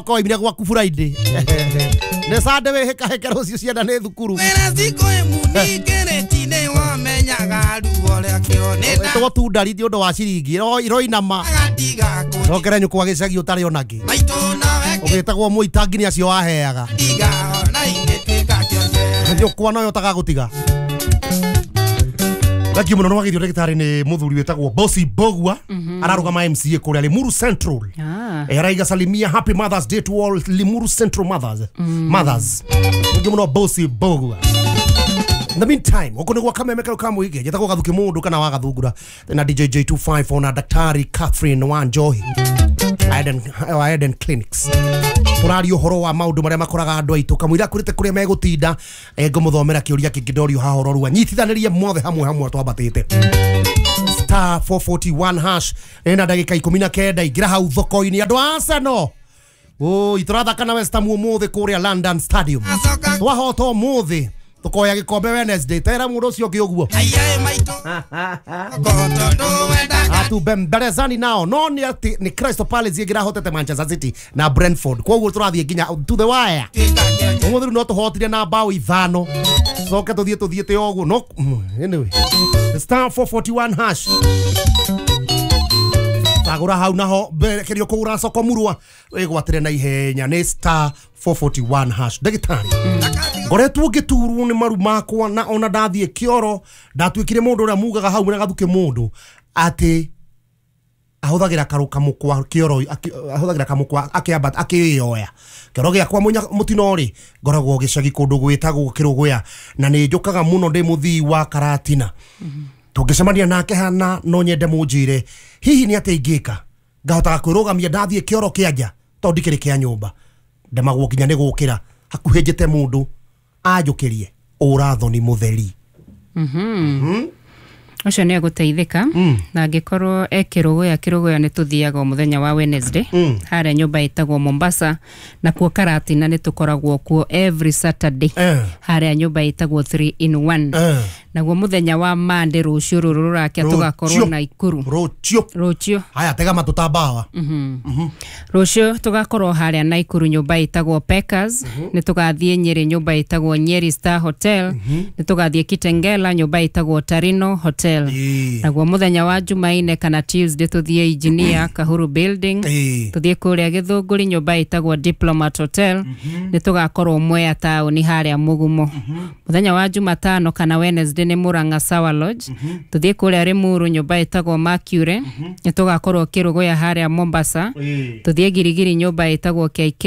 Koimire gwaku Friday. Nĩ Sunday wĩhĩkahĩke rũciũ ciana nĩ thukuru. Ĩtagwo tundari ti ũndũ wa ciringi iroinama. Cokere nyũkwa gĩcagi ũtarĩ ona kĩ. Ũgĩtagwo mũitangi nĩ acio waheaga. Nyũkwa noyo ũtagagũtiga. Thank you muno nĩwagĩrio ndagĩtarĩ nĩ mũthuri wĩtagwo Bosi Bogua ararũgama MCA kũrĩa Limuru Central. Araiga salimia happy Mother's Day to all Limuru Central mothers. Mothers. Thank you muno Bosi Bogua. In the meantime, huko ni gwa kameme kau ka muige njĩtagwo Gathuki Mũndũ kana wa Gathungura na DJ J254 na Daktari Catherine Wanjohi Eden Clinics. Tũraria ũhoro wa maũndũ marĩa makoraga andũ aitũ kamũira kũrĩte kũrĩa megũtinda ngũmũthomera kĩũria kĩngĩ ndorio haha ũrorua nyitithanĩrie mothe hamwe hamwe twambatĩte star 441 hash ĩna ndagĩka 19 ingĩra hau thoko-inĩ andũ a Arsenal. Oi tũrathaka na West Ham ũmũthĩ kũrĩa London Stadium. Twahota ũmũthĩ tukoya gikombe Wednesday tera mundu ucio ũngĩ ũguo atubembelezani nao no nĩ atĩ nĩ Crystal Palace ĩngĩrahotete Manchester City na Brentford koguo tũrathiĩ nginya to the wire ũmũthĩ rĩu no tũhotire na bao 5 coke tũthiĩ tũthiĩte ũguo no anyway star 441 hash tagũra hau naho mberekerio kũgũra soko murwa wĩgwatĩre na ihenya nĩ star 441 hash. Ndagĩtarĩ ngoretwo ngĩturwo nĩ maru makwa na ona ndathiĩ kĩoro ndatuĩkire mũndũ ũrĩa mugaga hau na Gathuki Mũndũ atĩ ahũthagĩra kamũkwa kĩoro ahũthagĩra kamũkwa akĩambata akĩyoya kĩoro gĩakwa mũtino rĩ ngoragwo gĩcagi kũndũ gwĩtagwo Kĩrũgũya na nĩ njũkaga mũno ndĩ mũthii wa Karatina. Tũngĩcemania nake hana no nyende mũnjĩre hihi nĩ atĩa ingĩka ngahotaga kwĩrũgamia ndathiĩ kĩoro kĩa nja tondũ ndikĩrĩ kĩa nyũmba ndemagwo nginya nĩ gũkĩra hakuhĩ njĩte mũndũ anjũkĩrie ũrathoni mũtheri. Ũcio nĩ egũteithĩka na angĩkorwo e Kĩrũgũya Kĩrũgũya nĩ tũthiaga o mũthenya wa Wednesday harĩa nyũmba ĩtagwo Mombasa na kuo Karatina nĩ tũkoragwo kuo every Saturday harĩa nyũmba ĩtagwo 3 in 1 naguo mũthenya wa Monday rũciũ rũrũ rũrakia tũgakorwo Naikuru rũciũ haya tega matũ ta mbawa. Rũciũ tũgakorwo harĩa Naikuru nyũmba ĩtagwo Packers nĩ tũgathiĩ Nyeri nyũmba ĩtagwo Nyeri Star Hotel nĩ tũgathiĩ Kitengela nyũmba ĩtagwo Tarino Hotel naguo mũthenya wa Jumaine kana Tuesday tũthiĩ Engineer Kahuru Building tũthiĩ kũrĩa Gĩthũngũri nyũmba ĩtagwo Diplomat Hotel nĩ tũgakorwo Mwea taũni harĩa Mũgumo. Mũthenya wa Jumatano kana Wednesday nĩ Murang'a Sawa Lodge tũthiĩ kũrĩa Limuru nyũmba ĩtagwo Mercury nĩ tũgakorwo Kĩrũgũya harĩa Mombasa tũthiĩ Girigiri nyũmba ĩtagwo KK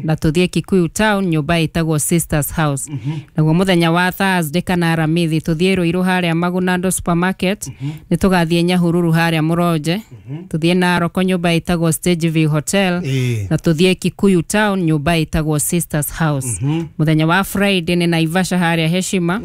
na tũthiĩ Kikuyu Town nyũmba ĩtagwo Sisters House. Naguo mũthenya wa Thursday kana Aramithi tũthiĩ Ruiru harĩa Magunando Supermarket nĩ tũgathiĩ Nyahururu harĩa Mũronje tũthiĩ Naroko nyũmba ĩtagwo Stage View Hotel na tũthiĩ Kikuyu Town nyũmba ĩtagwo Sisters House. Mũthenya wa Friday nĩ Naivasha harĩa Heshima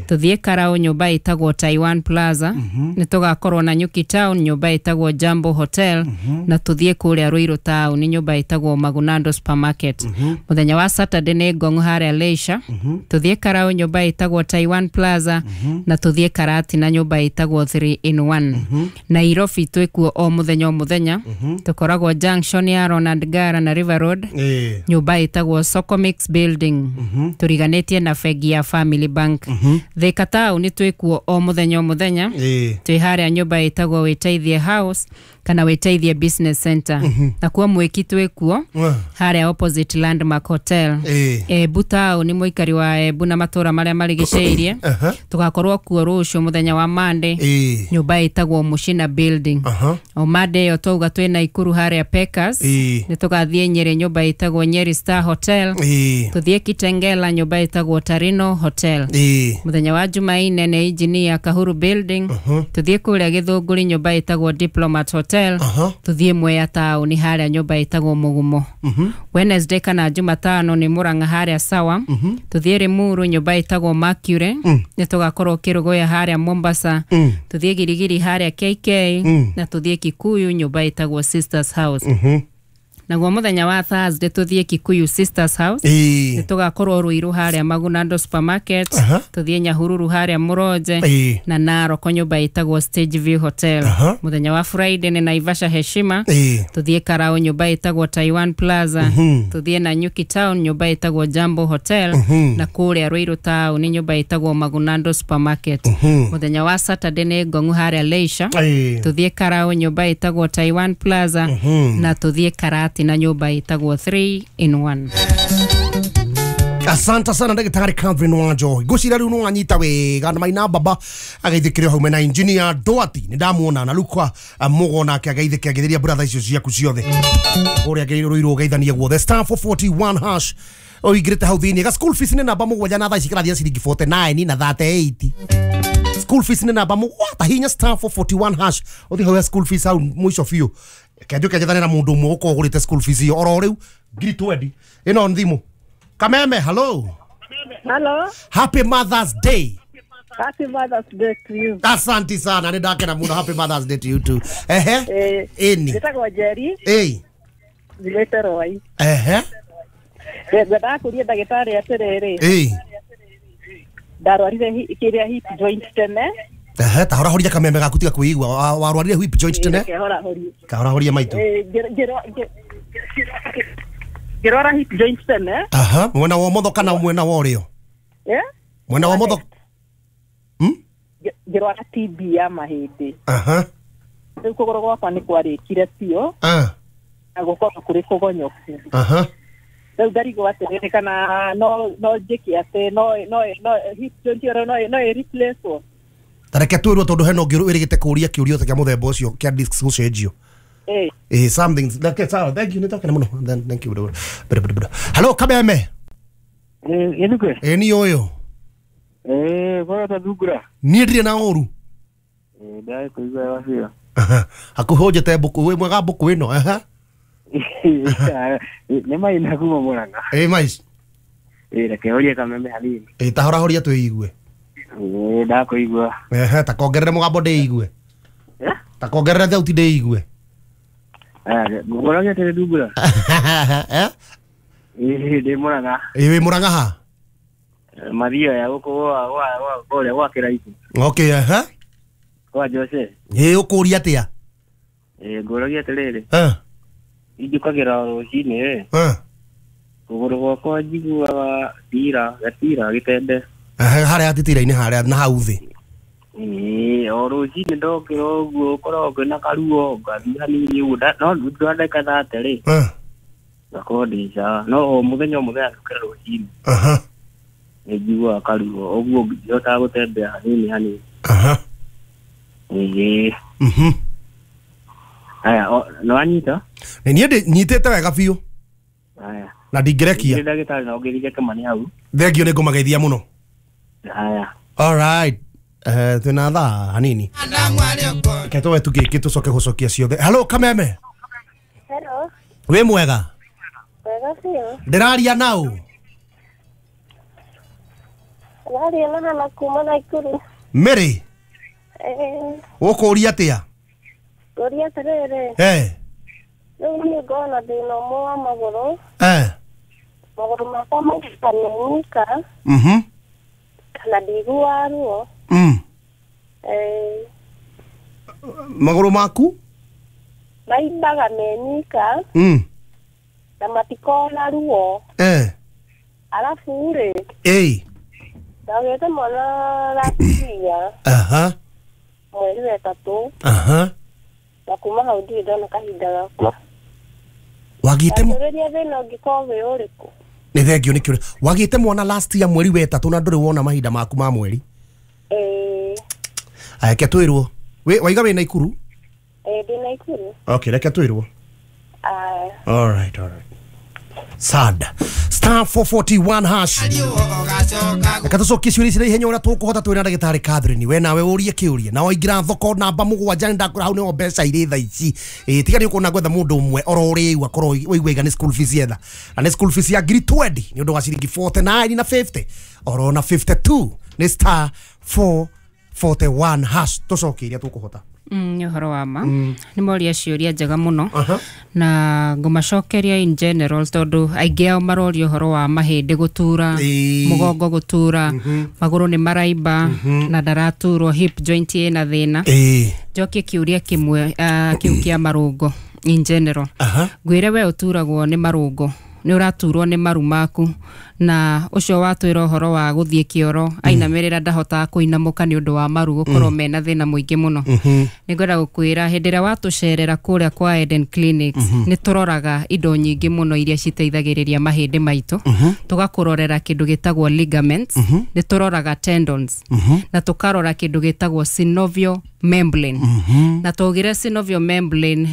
tũthiĩ Karau nyũmba ĩtagwo Taiwan Plaza nĩ tũgakorwo na Nyuki Town nyũmba ĩtagwo Jambo Hotel na tũthiĩ kũrĩa Ruiru Town nyũmba ĩtagwo Magunando Supermarket. Mũthenya wa Saturday nĩ Ngong harĩa Leisure tũthiĩ Karau nyũmba ĩtagwo Taiwan Plaza na tũthiĩ Karatina nyũmba ĩtagwo 3 in 1. Nairobi twĩkuo o mũthenya o mũthenya tũkoragwo junction ya Ronald Gara na River Road nyũmba ĩtagwo Socomix Building tũriganĩtie na bengi ya Family Bank. Thika Town twĩkuo o mũthenya o mũthenya twĩ harĩa nyũmba ĩtagwo Wĩteithie House kana Wĩteithie Business Center na kuo Mwĩki twĩkuo harĩa opposite Landmark Hotel. Embu Town mũikari wa Embu na matũra marĩa marigicĩirie tũgakorwo kuo rũciũ mũthenya wa Monday nyũmba ĩtagwo Mushina Building. O Monday ĩyo twauga twĩ Naikuru harĩa Packers nĩ tũgathiĩ Nyeri nyũmba ĩtagwo Nyeri Star Hotel tũthiĩ Kitengela nyũmba ĩtagwo Tarino Hotel. Mũthenya wa Jumaine nĩ Engineer Kahuru Building tũthiĩ kũrĩa Gĩthũngũri nyũmba ĩtagwo Diplomat Hotel tũthiĩ Mwea Town harĩa nyũmba ĩtagwo Mũgumo. Wednesday kana Jumatano nĩ Murang'a harĩa Sawa tũthiĩ Limuru nyũmba ĩtagwo Mercury nĩ tũgakorwo Kĩrũgũya harĩa Mombasa tũthiĩ Girigiri harĩa KK na tũthiĩ Kikuyu nyũmba ĩtagwo Sisters House. Naguo muthenya wa Thursday tuthie Kikuyu Sisters House. Nĩ tũgakorwo Ruiru harĩa Magunando Supermarket, tuthie Nyahururu harĩa Mũronje, na Narok nyũmba ĩtagwo Stage View Hotel. Muthenya wa Friday nĩ Naivasha Heshima, tuthie Karau nyũmba ĩtagwo Taiwan Plaza, tuthie Nanyuki Town nyũmba ĩtagwo Jambo Hotel, na kũrĩa Ruiru Town nĩ nyũmba ĩtagwo Magunando Supermarket. Muthenya wa Saturday nĩ Ngong'u harĩa Leisure, tuthie Karau nyũmba ĩtagwo Taiwan Plaza, na tuthie Karati na nyũmba ĩtagwo 3 in 1. Asante sana ndagĩtarĩ Catherine Wanjohi. Ngwĩciria rĩu nĩwanyita wega na maina baba ageithĩkĩre hau mena engineer Doati nĩ ndamuona na Lukwa Mugo nake ageithĩke ageithĩria brother icio ciaku ciothe kũrĩa ngĩrũirwo ũgeithanie guothe. Star 441 hash ũingĩrĩte hau thĩinĩ ga school fees nĩ namba 7 na thaa ici kĩrathiĩ ciringi 49 na 38. School fees nĩ namba 7 hinya star 441 hash ũthiĩ hau ya school fees hau mũico biũ kenjũke njethane na mũndũ ũmwe ũkorwo ũgũrĩte school fees ĩyo oro rĩu ngiri 20 ĩno thimũ. Kameme, hello. Hello. Happy Mother's Day. Happy Mother's Day to you. Asante sana, nĩ ndakena mũno. Happy Mother's Day to you too. Ehe. Ĩni. Njĩtagwo Njeri. Ĩĩ. Njugĩte Rwai. Ehe. Ngwendaga kũria ndagĩtarĩ atĩrĩrĩ. Ĩĩ. Ndarwarire kĩrĩa hip joint tene. Ehe, ta horahoria kameme gaku tiga kwĩigua. Warwarire hip joint tene? Kahorahoria maitũ. Ngĩrwara hip joint tene. Aha, mwena wa ũmotho kana mwena wa ũrĩo? Eh? Mwena wa ũmotho. Ngĩrwara TB ya mahĩndĩ. Aha. Rĩu kũgũrũ gwakwa nĩ kwarĩkire biũ. Na gũkorwo kũrĩ kũgonyoku. Aha. Rĩu ndarigwo atĩrĩrĩ kana no njĩke atĩ no hip joint ĩyo no ĩ replace. Ta reke twĩrwo tondũ hena ũngĩ wĩrĩgĩte kũũria kĩũria kĩa mũthemba ũcio kĩa discs gũcenjio. Eh, something like sawa. Thank you, nitokena muno. Then thank you. Hello Kameme. Yenuke. Ni oyo. Kwa ta dugura. Niĩ ndirĩ na ũru. Ndai kuigua wacio. Hakuhĩ mbũkũ wĩ mwega mbũkũ ĩno. Aha. Nĩ maina kuma Murang'a. Mais. Reke ũrie Kameme hanini. Ta horahoria twĩigue. Ndakũigua. Ehe, ta kongerere mũgambo ndĩigue. Ta kongerere thauti ndĩigue. Ngũragia atĩrĩ Ndungura. Ndĩ Murang'a. Wĩ Murang'a ha? Mathio ya gũkũ kũrĩa gwa Kĩraitũ. Okay, ehe. Kwa Jose. Ũkũria atĩa? Ngũragia atĩrĩrĩ. Injũkagĩra rũcinĩ. Kũgũrũ gwakwa njiguaga gatira gĩtende. Harĩa titira-inĩ harĩa na hau thĩ. O rũcinĩ ndokĩra ũguo ũkoragwo kwĩna karuo ngathiĩ hanini ũguo no thutha wa ndagĩka 30 rĩ ngakorwo ndĩ sawa no o mũthenya njũkĩra rũcinĩ nĩ njiguaga karuo ũguo ndihotaga gũtembea hanini hanini. Aya, nĩ wanyita? Niĩ nyitĩte wega biũ. Aya. Na ndingĩrekia. Ndagĩtarĩ no ũngĩrire Kĩmani hau. Thengio nĩ ngũmageithia mũno. Aya. All right. Twĩna thaa hanini. Reke tũwe tũgĩkĩ tũcoke gũcokia ciothe. Hello Kameme. Hello. Wĩ mwega? Wega biũ. Ndĩraria naũ? Ndĩraria na Hana kuma Naikuru. Mary. Ũkũria atĩa? Ngũria atĩrĩrĩ. Rĩu niĩ ngoragwo na thĩna ũmwe wa magũrũ. Magũrũ makwa maita menyika. Kana ndiguaga ruo. Magũrũ maku maimbaga menyika. Na matikoragwo na ruo. Arabu rĩ, ndagĩte mwana last year. Mweri wa 3. Na kuma hau ndirĩ ndona kahinda gakwa. Wagĩte Ndũrĩria thĩna ũngĩkorwo wĩ ũrĩkũ? Nĩ thengio nĩ kĩũria. Wagĩte mwana last year mweri wa 3 na ndũrĩ wona mahinda maku ma mweri? Aya, reke twĩrwo. Waiga wĩ Naikuru? Ndĩ Naikuru. Okay, reke twĩrwo. Aya. All right, all right. Sad. Star 441 hash. Reke tũcokie ciũria ici na ihenya ũrĩa tũkũhota twĩna ndagĩtarĩ Catherine. We nawe ũrie kĩũria. Na waingĩra thoko namba 7 ndakũra hau nĩho mbeca irĩ thaa ici. Tiga nĩ ũkuona gwetha mũndũ ũmwe oro rĩu akorwo waigua iga nĩ school fees yetha. Na nĩ school fees ya ngiri 20 nĩ ũndũ wa ciringi 49 na 50 oro na 52 nĩ star 441 hash. Tũcokie iria tũkũhota. Nĩ ũhoro wa ma. Nĩ moria ciũria njega mũno. Na ngũmacokeria in general tondũ aingĩ ao maroria ũhoro wa mahĩndĩ gũtura, mũgongo gũtura, magũrũ nĩ maraimba na ndaraturwo, hip joint ĩna thĩna. Njokie kĩũria kĩmwe kĩu kĩa marũngo in general. Ngwĩre we ũturagwo nĩ marũngo, nĩ ũraturwo nĩ maru maku, na ũcio watwĩra ũhoro wa gũthiĩ kĩoro ainamĩrĩra ndahotaga kũinamũka nĩ ũndũ wa maru gũkorwo mena thĩna mũingĩ mũno. Nĩ ngwenda gũkwĩra hĩndĩ ĩrĩa watũcerera kũrĩa kwa Eden Clinics, nĩ tũroraga indo nyingĩ mũno iria citeithagĩrĩria mahĩndĩ maitũ. Tũgakũrorera kĩndũ gĩtagwo ligaments, nĩ tũroraga tendons, na tũkarora kĩndũ gĩtagwo synovial membrane. Na twaugire synovial membrane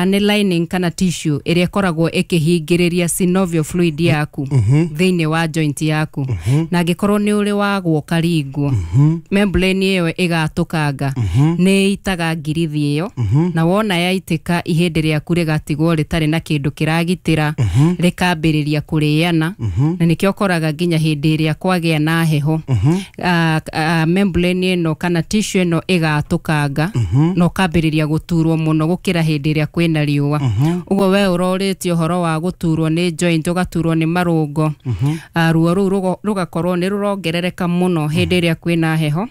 nĩ lining kana tissue ĩrĩa ĩkoragwo ĩkĩhingĩrĩria synovial fluid yaku thĩinĩ wa joint yaku. Na angĩkorwo nĩ ũrĩ wagwo ũkaringwo, membrane ĩyo ĩgatũkanga, nĩ ĩitaga ngirithi ĩyo, na wona yaitĩka ihĩndĩ rĩaku rĩgatigwo rĩtarĩ na kĩndũ kĩragitĩra, rĩkambĩrĩria kũrĩana. Na nĩkĩo ũkoraga nginya hĩndĩ ĩrĩa kwagĩa na heho, membrane ĩno kana tissue ĩno ĩgatũkanga, na ũkambĩrĩria gũturwo mũno gũkĩra hĩndĩ ĩrĩa kwĩna riũa. Ũguo we ũrorĩtie ũhoro wa gũturwo nĩ joint, ũgaturwo nĩ marũngo, ruo rũu rũgakorwo nĩ rũrongerereka mũno hĩndĩ ĩrĩa kwĩna heho,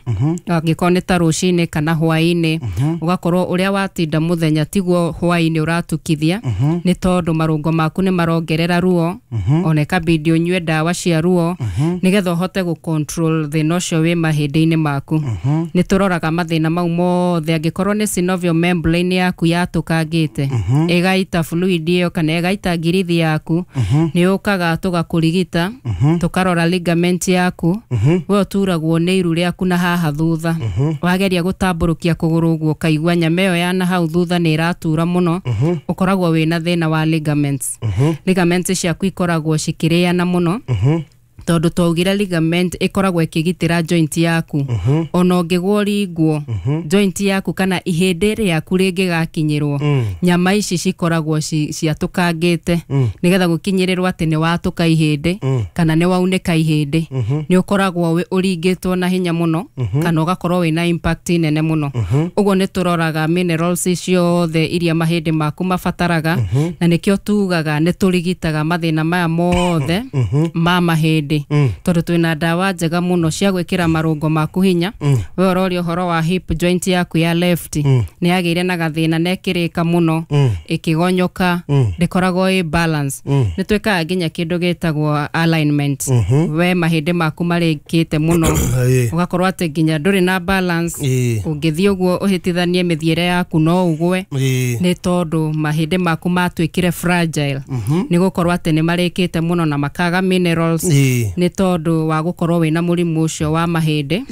angĩkorwo nĩ ta rũcinĩ kana hwaĩ-inĩ, ũgakorwo ũrĩa watinda mũthenya tiguo hwaĩ-inĩ ũratukithia, nĩ tondũ marũngo maku nĩ marongerera ruo, ona ĩkabidi ũnyue ndawa cia ruo nĩgetha ũhote gũ control thĩna ũcio wĩ mahĩndĩ-inĩ maku. Nĩ tũroraga mathĩna mau mothe, angĩkorwo nĩ synovial membrane yaku yatũkangĩte, ĩgaita fluid ĩyo kana ĩgaita ngirithi yaku, nĩ ũkaga tũgakũrigita, tũkarora ligament yaku. We ũturagwo nĩ iru rĩaku na haha thutha, wageria gũtambũrũkia kũgũrũ ũguo ũkaigua nyama ĩyo ya na hau thutha nĩ ĩratura mũno, ũkoragwo wĩna thĩna wa ligaments. Ligaments ciaku ikoragwo cikĩrĩana mũno, tondũ twaugire ligament ĩkoragwo ĩkĩgitĩra joint yaku. Ona ũngĩgwo ringwo, joint yaku kana ihĩndĩ rĩaku rĩngĩgakinyĩrwo, nyama ici cikoragwo ciatũkangĩte, nĩgetha gũkinyĩrĩrwo atĩ nĩ watũka ihĩndĩ kana nĩ waunĩka ihĩndĩ, nĩ ũkoragwo ũringĩtwo na hinya mũno, kana ũgakorwo wĩna impact nene mũno. Ũguo nĩ tũroraga minerals ciothe iria mahĩndĩ maku mabataraga, na nĩkĩo tugaga nĩ tũrigitaga mathĩna maya mothe ma mahĩndĩ, tondũ twĩna ndawa njega mũno cia gwĩkĩra marũngo maku hinya. We ũroria ũhoro wa hip joint yaku ya left, nĩ yagĩire na gathĩna na ĩkĩrĩka mũno, ĩkĩgonyoka, ndĩkoragwo ĩ balance. Nĩ twĩkaga nginya kĩndũ gĩtagwo alignment. We mahĩndĩ maku marĩkĩte mũno, ũgakorwo atĩ nginya ndũrĩ na balance, ũngĩthiĩ ũguo ũhĩtithanie mĩthiĩre yaku no ũgwe, nĩ tondũ mahĩndĩ maku matuĩkire fragile, nĩ gũkorwo atĩ nĩ marĩkĩte mũno na makaga minerals, nĩ tondũ wa gũkorwo wĩna mũrimũ ũcio wa mahĩndĩ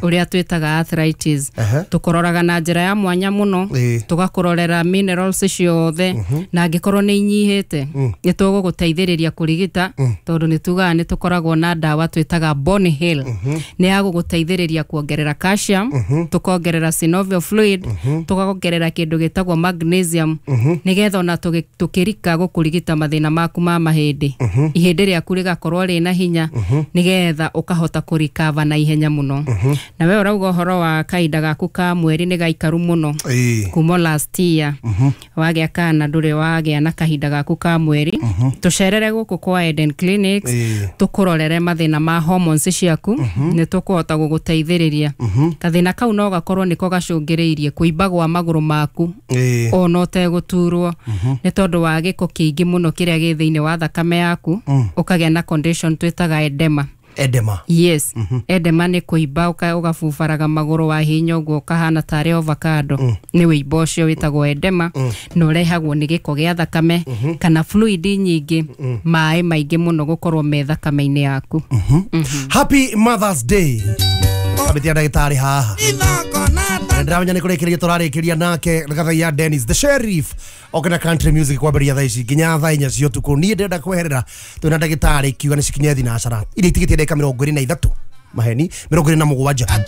ũrĩa twĩtaga arthritis. Tũkũroraga na njĩra ya mwanya mũno, tũgakũrorera minerals ciothe, na angĩkorwo nĩ inyihĩte, nĩ tũgũgũteithĩrĩria kũrigita, tondũ nĩ tugaga nĩ tũkoragwo na ndawa twĩtaga Bone Heal, nĩ ya gũgũteithĩrĩria kuongerera calcium, tũkongerera synovial fluid, tũkongerera kĩndũ gĩtagwo magnesium, nĩgetha ona tũkĩrika gũkũrigita mathĩna maku ma mahĩndĩ, ihĩndĩ rĩaku rĩgakorwo rĩna hinya, nĩgetha ũkahota kũrikava na ihenya mũno. Na we ũrauga ũhoro wa kahinda gaku ka mweri nĩ gaikaru mũno, kuma last year wagĩa kana ndũrĩ wagĩa na kahinda gaku ka mweri, tũcerere gũkũ kwa Eden Clinics, tũkũrorere mathĩna ma hormones ciaku, nĩ tũkũhota gũgũteithĩrĩria. Gathĩna kau no gakorwo nĩko gacũngĩrĩirie kũimba gwa magũrũ maku, ona ũtegũturwo, nĩ tondũ wa gĩko kĩingĩ mũno kĩrĩa gĩ thĩinĩ wa thakame yaku, ũkagĩa na condition twĩtaga edema. Edema. Yes. Edema nĩ kũimba, ũgabubaraga magũrũ wa hinya ũguo ũkahana tarĩ avocado. Nĩ wĩimbo ũcio wĩtagwo edema, na ũrehagwo nĩ gĩko gĩa thakame kana fluid nyingĩ, maĩ maingĩ mũno gũkorwo me thakame-inĩ yaku. Happy Mother's Day. Abetia ndagĩtarĩ haha. Ndĩramenya nĩ kũrĩkĩrĩria tũrarĩkĩria nake Gathaiya Dennis the Sheriff okena country music kwambĩrĩria thaa ici nginya thaa inya cia ũtukũ. Niĩ ndĩrenda kweherera twĩna ndagĩtarĩ kiuga nĩ cikinye thinacara iria itigĩtie ndagĩka 23 maheni 27.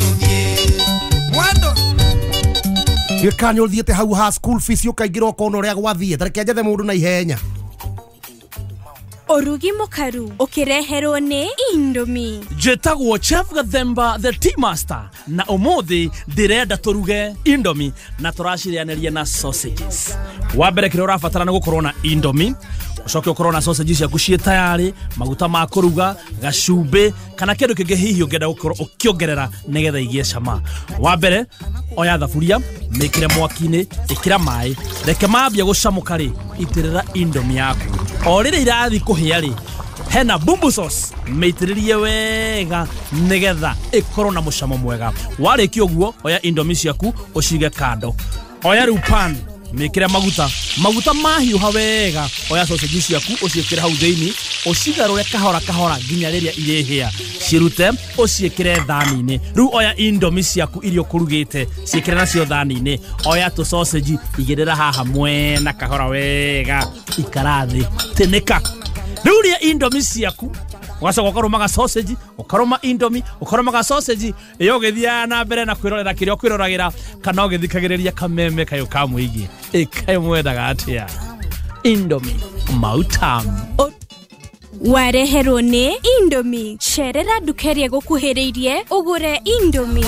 Gĩka nĩ ũthiĩte hau ha school fees ũkaingĩra ũkona ũrĩa gwathiĩ, ta reke njethe mũndũ na ihenya. Ũrugi mũkaru ũkĩreherwo nĩ Indomie. Njĩtagwo Chef Gathemba the Tea Master na ũmũthĩ ndĩrenda tũruge Indomie na tũracirĩanĩria na sausages. Wa mbere kĩrĩa ũrabatara nĩ gũkorwo na Indomie, ũcoke ũkorwo na sausage ciaku ciĩ tayarĩ, maguta ma kũruga, gacumbĩ kana kĩndũ kĩngĩ hihi ũngĩenda gũkorwo ũkĩongerera nĩgetha igĩe cama. Wa mbere oya thaburia, mĩkĩre mwaki-inĩ, ĩkĩra maĩ, reke mambia gũcamũka rĩ, itĩrĩra Indomie yaku. O rĩrĩa irathiĩ kũhĩa rĩ, hena bumbu sauce, mĩitĩrĩrie wega nĩgetha ĩkorwo na mũcamo mwega. Warĩkia ũguo, oya Indomie ciaku ũcige kando. Oya rĩu pan, mĩkĩre maguta, maguta mahiũha wega, oya sausage ciaku ũciĩkĩre hau thĩinĩ, ũcigarũre kahora kahora nginya rĩrĩa irĩhĩa, cirute ũciĩkĩre thani-inĩ. Rĩu oya Indomie ciaku iria ũkũrugĩte, ciĩkĩre nacio thani-inĩ, oya tũ sausage igĩrĩra haha mwena kahora wega, ikara thĩ, tĩnĩka. Rĩu rĩa Indomie ciaku ũgacoka ũkarũmaga sausage, ũkarũma Indomie, ũkarũmaga sausage, ĩyo ũgĩthiaga na mbere na kwĩrorera kĩrĩa ũkwĩroragĩra kana ũgĩthikagĩrĩria kameme kayũ ka mũingĩ. Ĩ kaĩ mwendaga atĩa? Indomie mautamu. Wareherwo nĩ Indomie. Cerera nduka ĩrĩa ĩgũkuhĩrĩirie ũgũre Indomie.